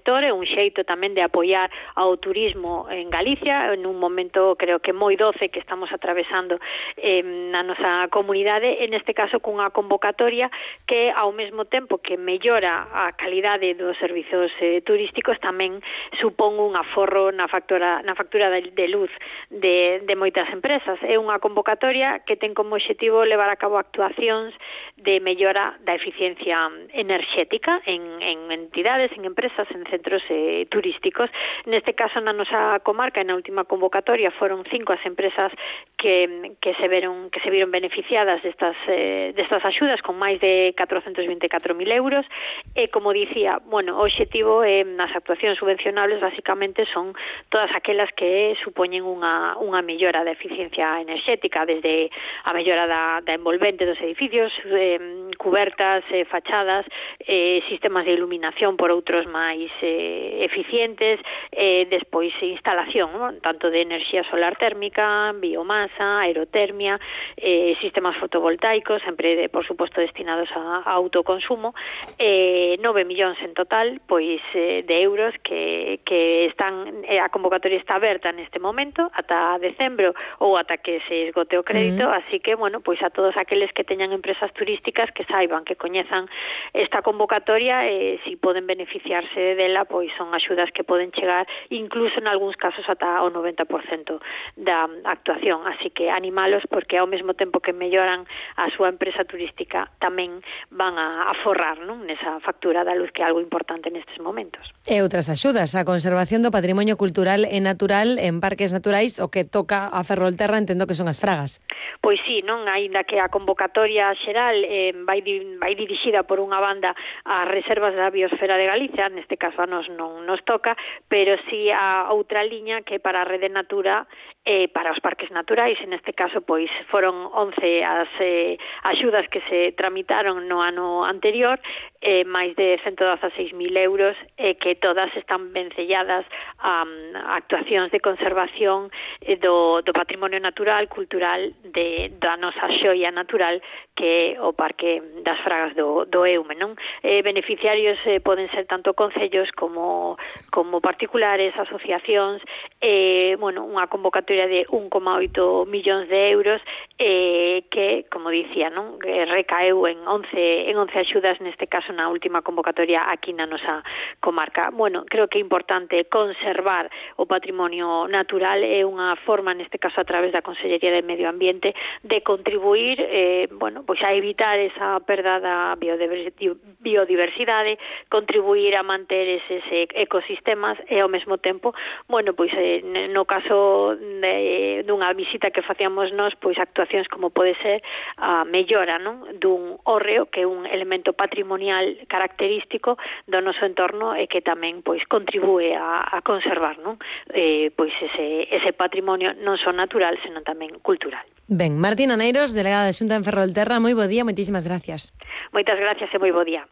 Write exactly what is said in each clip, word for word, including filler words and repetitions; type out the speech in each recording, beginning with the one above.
sector, é un xeito tamén de apoiar ao turismo en Galicia, en un momento creo que moi doce que estamos atravesando eh, na nosa comunidade, en este caso cunha convocatoria que ao mesmo tempo que mellora a calidade dos servizos eh, turísticos tamén supón un aforro na factura, na factura de, de luz de, de moitas empresas. É unha convocatoria que ten como objetivo levar a cabo actuacións de mellora da eficiencia enerxética en, en entidades, en empresas, en centros eh, turísticos. Neste caso, na nosa comarca, na última convocatoria, foron cinco as empresas que, que se veron que se viron beneficiadas destas, eh, destas axudas con máis de catrocentos vinte e catro mil euros e, como dicía, bueno, o objetivo eh, nas actuacións subvencionables basicamente son todas aquelas que supoñen unha, unha mellora da eficiencia enerxética, desde a mellora da, da envolvente dos edificios, eh, cubertas, eh, fachadas, eh, sistemas de iluminación por outros máis eh, eficientes, eh, despois instalación, ¿no? Tanto de enerxía solar térmica, biomasa, aerotermia, eh, sistemas fotovoltaicos, sempre, de, por suposto, destinados a, a autoconsumo, eh, nove millóns en total, pois, eh, de euros que, que están, eh, a convocatoria está aberta neste momento, ata decembro ou ata que se esgote o crédito, uh-huh. Así que, bueno, pois a todos aqueles que teñan empresas turísticas que saiban, que coñezan esta convocatoria, eh, si poden beneficiarse dela, pois son axudas que poden chegar incluso en algúns casos ata o noventa por cento da actuación, así que animalos porque ao mesmo tempo que melloran a súa empresa turística tamén van a, a forrar, non, nesa factura da luz, que é algo importante nestes momentos. E outras axudas, a conservación do patrimonio cultural e natural en parques naturais, o que toca a Ferrolterra, entendo que son as fragas. Pois sí, non, aínda que a convocatoria xeral eh, vai, vai dirixida por unha banda ás reservas da biosfera de Galicia, neste caso a nos non nos toca, pero sí a outra liña que para a Rede Natura e eh, para os parques naturais, en este caso pois foron once as eh, axudas que se tramitaron no ano anterior, eh, máis de ciento dezaseis mil euros, e eh, que todas están vencelladas a, a actuacións de conservación eh, do, do patrimonio natural, cultural de, da nosa xoia natural, que é o Parque das Fragas do, do Eume, non? Eh, beneficiarios eh, poden ser tanto concellos como, como particulares, asociacións, eh, bueno, unha convocatoria de un coma oito millóns de euros eh, que, como dicía, non, que recaeu en once, en once axudas, neste caso na última convocatoria aquí na nosa comarca. Bueno, creo que é importante conservar o patrimonio natural, é unha forma, neste caso a través da Consellería de Medio Ambiente, de contribuir, eh, bueno, pois a evitar esa perda da biodiversidade, contribuir a manter eses ecosistemas e ao mesmo tempo, bueno, pois eh, no caso de, dunha visita que facíamos nós, pois actuacións como pode ser a mellora, non, dun hórreo, que é un elemento patrimonial característico do noso entorno e que tamén pois contribúe a, a conservar, non, eh, pois ese, ese patrimonio non só natural, senón tamén cultural. Ben, Martina Neiros, delegada da Xunta en Ferrolterra, moi bo día, moitísimas gracias. Moitas gracias e moi bo día.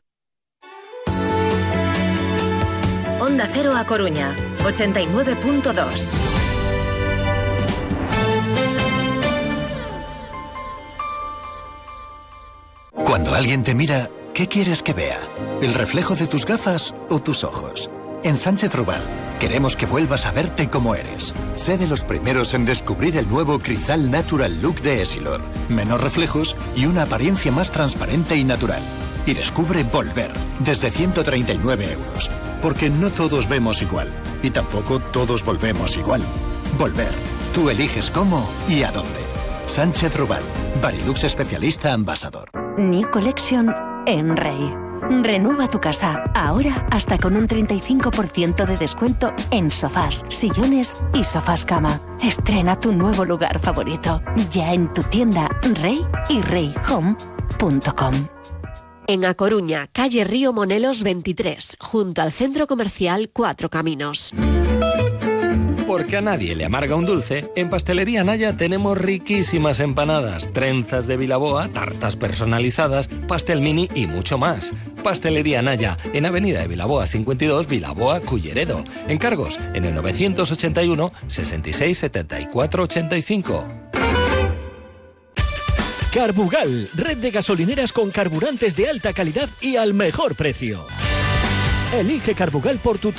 Onda Cero a Coruña, ochenta y nueve punto dos. Cuando alguien te mira, ¿qué quieres que vea? ¿El reflejo de tus gafas o tus ojos? En Sánchez Rubal queremos que vuelvas a verte como eres. Sé de los primeros en descubrir el nuevo Crizal Natural Look de Essilor. Menos reflejos y una apariencia más transparente y natural. Y descubre Volver, desde ciento treinta y nueve euros. Porque no todos vemos igual. Y tampoco todos volvemos igual. Volver. Tú eliges cómo y a dónde. Sánchez Rubal. Barilux especialista ambasador. New Collection en Rey. Renueva tu casa, ahora hasta con un treinta y cinco por ciento de descuento en sofás, sillones y sofás cama. Estrena tu nuevo lugar favorito, ya en tu tienda Rey y rey home punto com. En A Coruña, calle Río Monelos veintitrés, junto al Centro Comercial Cuatro Caminos. Porque a nadie le amarga un dulce, en Pastelería Naya tenemos riquísimas empanadas, trenzas de Vilaboa, tartas personalizadas, pastel mini y mucho más. Pastelería Naya, en Avenida de Vilaboa cincuenta y dos, Vilaboa, Culleredo. Encargos en el novecientos ochenta y uno, sesenta y seis, setenta y cuatro, ochenta y cinco. Carbugal, red de gasolineras con carburantes de alta calidad y al mejor precio. Elige Carbugal por tu